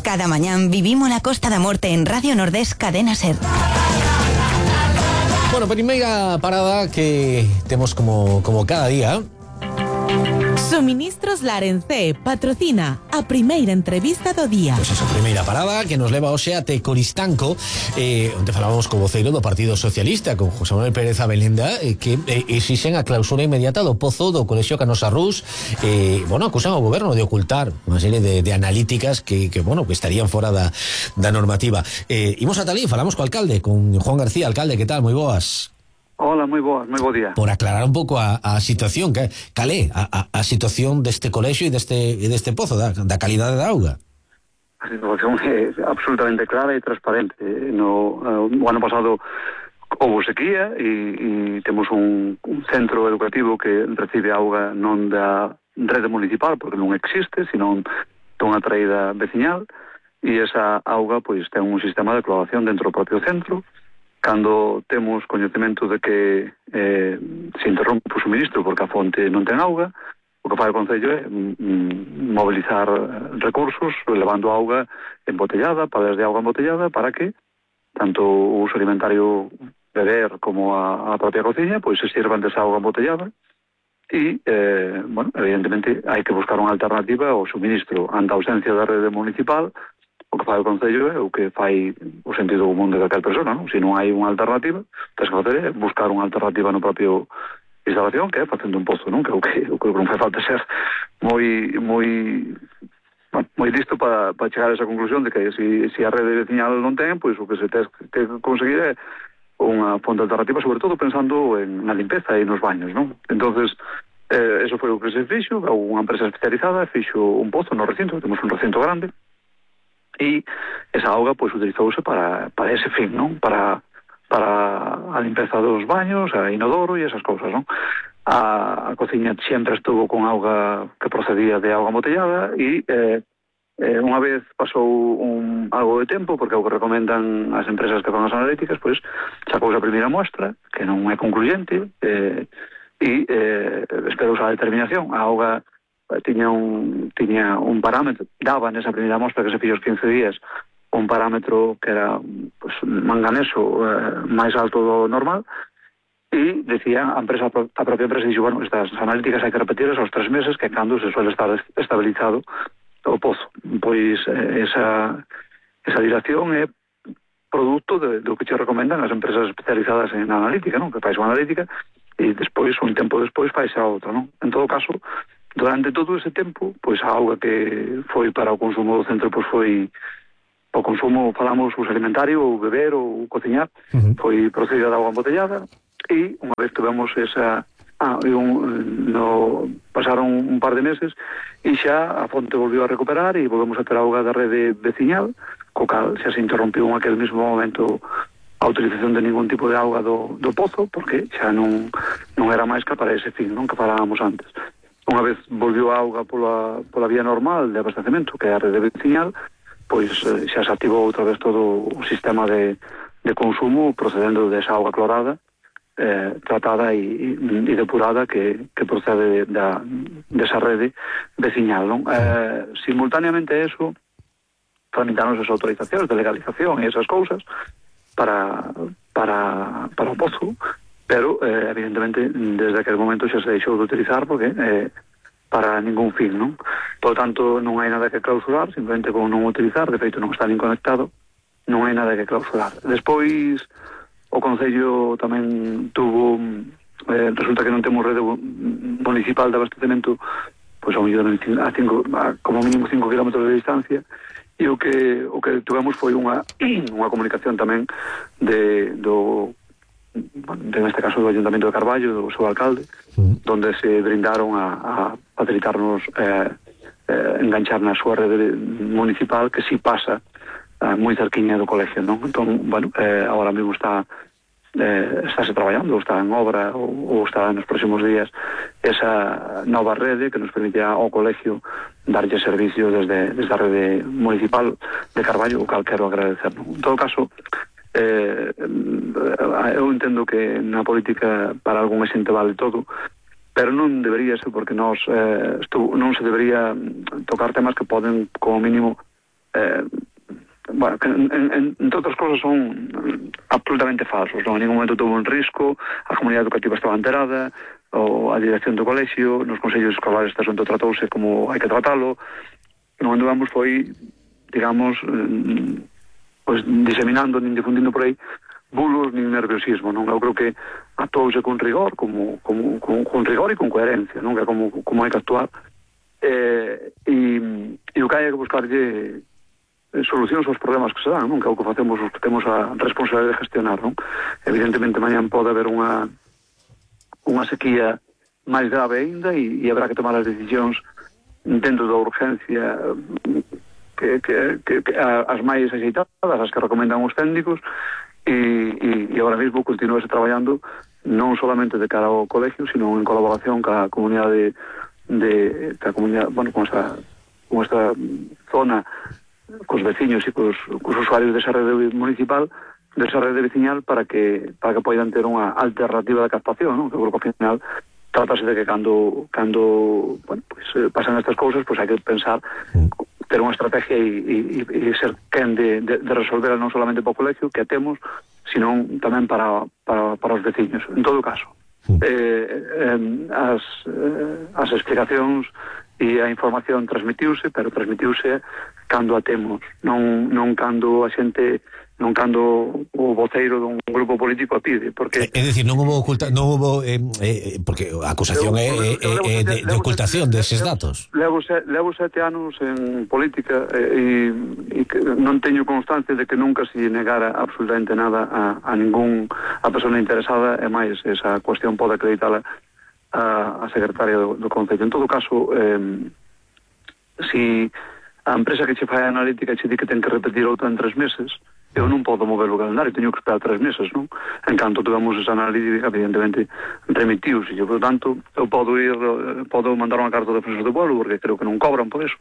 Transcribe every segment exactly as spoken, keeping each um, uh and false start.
Cada mañán vivimos la Costa da Morte en Radio Nordés Cadena Ser. Bueno, primeira parada que temos como, como cada día. Suministros Larencé patrocina a primeira entrevista do día. Pois esa primeira parada que nos leva hoxe até Coristanco, eh, onde falábamos co voceiro do Partido Socialista, con José Manuel Pérez Abelenda, eh, que eh, exixen a clausura inmediata do pozo do Colexio Canosa Rús. Eh, bueno, acusan ao goberno de ocultar unha serie de, de analíticas que, que, bueno, que estarían fora da, da normativa. Eh, imos ata ali, falamos co alcalde, con Juan García. Alcalde, que tal? Moi boas. Hola, moi boas, moi bo día. Por aclarar un pouco a, a situación, que calé, a, a, a situación deste colexio e deste, e deste pozo, da, da calidade da auga. A situación é absolutamente clara e transparente. No, uh, o ano pasado houve sequía e, e temos un, un centro educativo que recibe auga non da rede municipal, porque non existe, sino dunha traída veciñal, e esa auga pois ten un sistema de cloación dentro do propio centro. Cando temos coñecemento de que eh, se interrompe o suministro porque a fonte non ten auga, o que fai o Concello é mm, mobilizar recursos levando auga embotellada, palas de auga embotellada, para que tanto o uso alimentario beber como a, a propia cociña pois se sirvan desa auga embotellada e, eh, bueno, evidentemente hai que buscar unha alternativa ao suministro ante a ausencia da rede municipal. O que fai o Concello é o que fai o sentido común de calquer persona, non? Se non hai unha alternativa, tens que facer é buscar unha alternativa no propio instalación, que é facendo un pozo, non? Que o que, o que non fai falta ser moi moi bueno, moi listo para, para chegar a esa conclusión de que se, se a rede veciñal non ten, pois o que se ten que conseguir é unha fonte alternativa, sobre todo pensando en na limpeza e nos baños, non? Entonces, eh, eso foi o que se fixo, unha empresa especializada fixo un pozo no recinto, temos un recinto grande, e esa auga pois utilizouse para, para ese fin, non? Para, para a limpeza dos baños, a inodoro e esas cousas, non? A, a cociña sempre estuvo con auga que procedía de auga embotellada e eh, eh, unha vez pasou un, algo de tempo, porque é o que recomendan as empresas que fan as analíticas, pois sacouse a primeira muestra, que non é concluyente, eh, e eh, esperouse a determinación. A auga tiña un tiña un parámetro, daba nesa primeira mostra que se fixo os quince días un parámetro que era pues, manganeso eh, máis alto do normal, e decía a empresa, a propia empresa dixo, bueno, estas analíticas hai que repetirlas aos tres meses, que cando se suele estar estabilizado o pozo. Pois eh, esa esa dilación é produto de, do que che recomendan as empresas especializadas en analítica, non? Que fais unha analítica e despois, un tempo despois, fais a outra, non? En todo caso, durante todo ese tempo, pois a auga que foi para o consumo do centro, pois foi o consumo, falamos, uso alimentario, ou beber, ou cociñar, uh-huh. foi procedida de auga embotellada, e unha vez tivemos esa... Ah, un, no, pasaron un par de meses e xa a fonte volviu a recuperar e volvemos a ter auga da rede veciñal, co cal xa se interrompiu en aquel mismo momento a utilización de ningún tipo de auga do, do pozo, porque xa non, non era máis que para ese fin, non, que falábamos antes. Unha vez volviu a auga pola, pola vía normal de abastecemento, que é a rede veciñal, pois eh, xa se activou outra vez todo o sistema de, de consumo procedendo desa auga clorada, eh, tratada e, e depurada que, que procede de, da, desa rede veciñal, non? Eh, simultaneamente a eso, tramitaron as autorizacións de legalización e esas cousas para, para, para o pozo, pero eh, evidentemente desde aquel momento xa se deixou de utilizar porque eh, para ningún fin, non? Por tanto, non hai nada que clausurar, simplemente con non utilizar, de feito non está nin conectado, non hai nada que clausurar. Despois, o Concello tamén tuvo, eh, resulta que non temos rede municipal de abastecemento, pois ao mellor a cinco, a, como mínimo cinco kilómetros de distancia, e o que o que tuvemos foi unha unha comunicación tamén de do en este caso do Ayuntamiento de Carballo, do seu alcalde, mm. donde se brindaron a, a facilitarnos eh, eh, enganchar na súa rede municipal, que si pasa eh, moi cerquiña do colegio, non? Entón, bueno, eh, agora mesmo está eh, estáse traballando, ou está en obra, ou, ou está nos próximos días esa nova rede que nos permite ao colegio darlle servicio desde, desde a rede municipal de Carballo, o cal quero agradecer, non? En todo caso, eh, eu entendo que na política para algún xente vale todo, pero non debería ser, porque nós eh, estu, non se debería tocar temas que poden, como mínimo, eh, bueno, que en, en, entre outras cosas son absolutamente falsos, non? En ningún momento tuvo un risco, a comunidade educativa estaba enterada, ou a dirección do colexio, nos consellos escolares este asunto tratouse como hai que tratalo. Non andamos foi, digamos, eh, pues, diseminando nin difundindo por aí bulos nin nerviosismo, non? Eu creo que actuouse con rigor, como, como, con, con rigor e con coherencia, non? Que é como, como hai que actuar. Eh, e, e o que hai que buscarlle solucións aos problemas que se dan, non? Que é o que facemos os que temos a responsabilidade de gestionar, non? Evidentemente mañan pode haber unha unha sequía máis grave ainda e, e habrá que tomar as decisións dentro da urgencia que, que, que, que as máis axeitadas, as que recomendan os técnicos e, e, e agora mesmo continúase traballando non solamente de cara ao colegio, sino en colaboración ca comunidade de ca comunidade, bueno, con esta, con esta zona, cos veciños e cos, cos usuarios desa rede municipal, desa rede veciñal, para que para que poidan ter unha alternativa de captación, non? Que creo que ao final trátase de que cando cando bueno, pues, pasan estas cousas, pues hai que pensar ter unha estrategia e, e, e ser quen de, de, de resolver non solamente para o colegio que temos, sino tamén para, para, para os veciños. En todo caso, eh, eh, as, eh, as explicacións e a información transmitiuse, pero transmitiuse cando a temos, non, non cando a xente, non cando o voceiro dun grupo político a pide, porque... É dicir, non houve oculta, non houve, eh, eh, porque a acusación é, é, é de, de ocultación deses datos. Levo, levo sete anos en política e, e que non teño constancia de que nunca se negara absolutamente nada a, a ningún a persona interesada, e máis esa cuestión pode acreditala a, a secretaria do, do Concello. En todo caso, eh, si a empresa que che fai a analítica che di que ten que repetir outra en tres meses, eu non podo mover o calendario, teño que esperar tres meses, non? En canto tuvemos esa analítica, evidentemente remitiuse, e, por tanto, eu podo ir, podo mandar unha carta de defensor do pueblo, porque creo que non cobran por eso,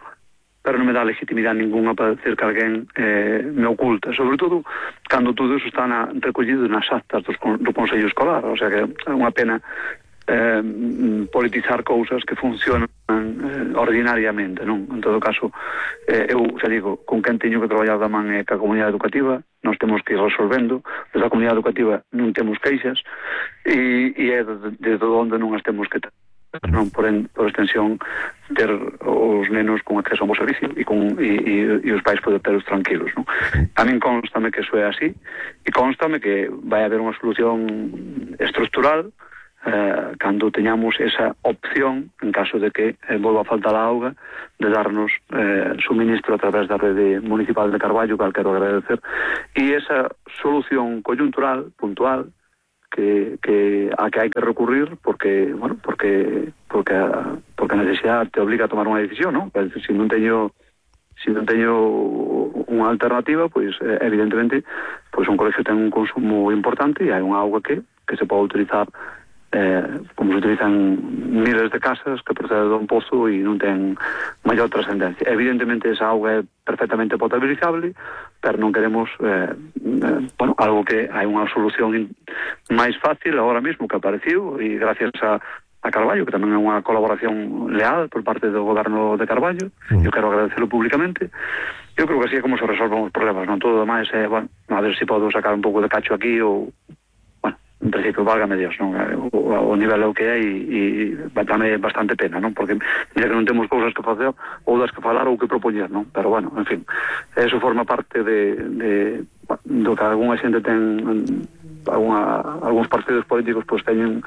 pero non me dá legitimidade ninguna para decir que alguén eh, me oculta, sobre todo cando todo eso está na, recollido nas actas dos, do Consello Escolar, o sea que é unha pena eh, politizar cousas que funcionan eh, ordinariamente, non? En todo caso, eh, eu xa digo, con quen teño que traballar da man é ca comunidade educativa, nos temos que ir resolvendo, desde a comunidade educativa non temos queixas e, e é desde onde non as temos que ter, non? Por, en, por extensión, ter os nenos con acceso a un bo servicio e, con, e, e, e os pais poder teros tranquilos, non? A min constame que iso é así e constame que vai haber unha solución estructural Eh, cando teñamos esa opción, en caso de que eh, volva a faltar a auga, de darnos eh, suministro a través da rede municipal de Carballo, que quero agradecer, e esa solución coyuntural, puntual, que, que a que hai que recurrir porque, bueno, porque porque a, porque a necesidade te obliga a tomar unha decisión, non? Se non teño se non teño unha alternativa, pois eh, evidentemente, pois un colegio ten un consumo importante e hai unha auga que que se pode utilizar Eh, como se utilizan miles de casas que procede dun pozo e non ten maior trascendencia. Evidentemente esa auga é perfectamente potabilizable, pero non queremos eh, eh, bueno, algo que hai unha solución máis fácil agora mesmo que apareciu e gracias a, a Carballo, que tamén é unha colaboración leal por parte do goberno de Carballo, mm. eu quero agradecerlo públicamente. Eu creo que así é como se resolven os problemas, non? Todo o demais é, bueno, a ver se podo sacar un pouco de cacho aquí ou en principio, válgame Dios, non? O, o nivel é o que é e, e dame bastante pena, non? Porque mira que non temos cousas que facer ou das que falar ou que propoñer, non? Pero bueno, en fin, eso forma parte de, de do que algunha xente ten alguna, algúns partidos políticos pois teñen,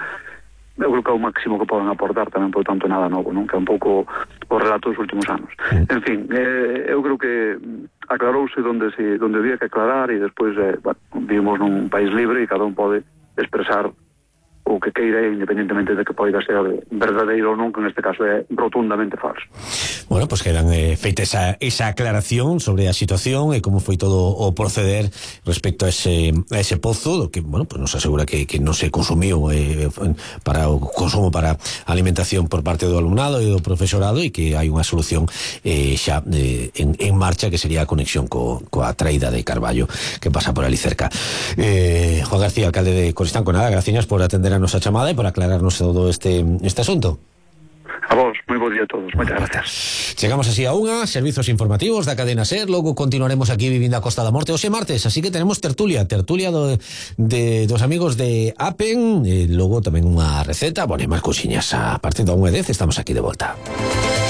eu creo que é o máximo que poden aportar tamén, por tanto, nada novo, non? Que é un pouco o relato dos últimos anos. En fin, eh, eu creo que aclarouse donde, se, donde había que aclarar e despois, eh, bueno, vivimos nun país libre e cada un pode expresar o que queira, independentemente de que poida ser verdadeiro ou non, que neste caso é rotundamente falso. Bueno, pois pues quedan eh, feita esa, esa aclaración sobre a situación e como foi todo o proceder respecto a ese, a ese pozo, do que, bueno, pues nos asegura que, que non se consumiu eh, para o consumo para alimentación por parte do alumnado e do profesorado, e que hai unha solución eh, xa eh, en, en marcha, que sería a conexión co, coa traída de Carballo que pasa por ali cerca. eh, Juan García, alcalde de Coristanco, nada, gracias por atender a nosa chamada e por aclararnos todo este, este asunto. A vos, moi bo día a todos, moitas gracias. Chegamos así a unha, servizos informativos da cadena SER, logo continuaremos aquí vivindo a Costa da Morte hoxe martes, así que tenemos tertulia, tertulia do, de, dos amigos de Apen, e logo tamén unha receta, bueno, e máis cousiñas a partir da unha e dez estamos aquí de volta.